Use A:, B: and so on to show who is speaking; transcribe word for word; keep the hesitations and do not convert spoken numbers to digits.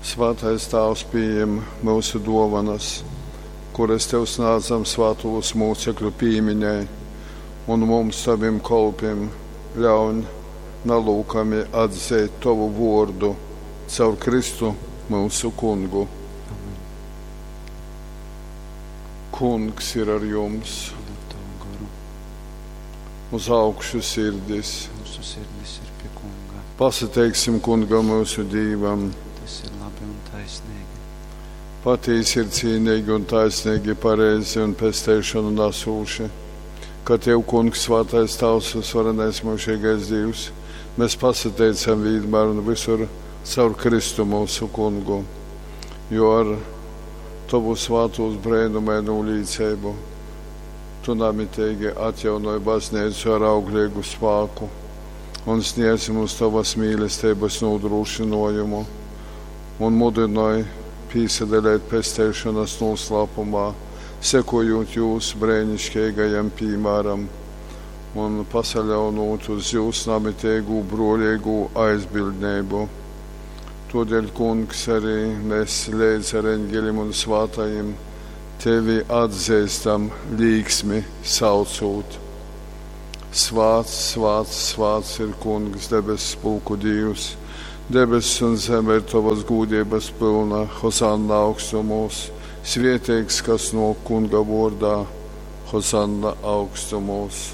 A: Svātais Tāvs, pījem myusu dōvanas, kuras Tev snādzam svātūs mūcekļu pīmiņai, un mums, Tovim kolpim, ļauņ nalūkami atzeit Tovu vōrdu caur Kristu myusu Kungu.
B: Amen.
A: Kungs ir ar jums.
B: Un ar tavu goru.
A: Uz augšu sirdis.
B: Mūsu sirdis ir pie Kunga.
A: Pasateiksim Kungam myusu Dīvam.
B: Tas ir labi un taisnīgi.
A: Patīsi ir cīnīgi un taisnīgi, pareizi un pesteišanu nesūši, ka Tev, Kungs, svātais Tavs un svarenais mūžīgais Dievs, mēs pasateicam vienmēr un visur caur Kristu mūsu Kungu, jo ar Tavu svātūs brēnumaino līdzību Tu namitīgi atjaunoj baznīcu ar auglīgu spāku un sniedz mums Tavas mīlestības nodrošinājumu un mudinoj pīsadalēt pesteišanas noslēpumā, sekojot jūsu brēnišķīgajam piemēram un pasaļaunot uz jūsu namitīgu brolīgu aizbildnību. Todēļ, Kungs, arī mēs līdz ar eņģeļiem un svātajiem tevi atzīstam līksmi saucot. Svāts, svāts, svāts ir Kungs, debesu pulku Dievs. Debesis un zeme ir tavas gūdības pilna, Hosanna augstumos. Svētīgs, kas no Kunga vārdā, Hosanna augstumos.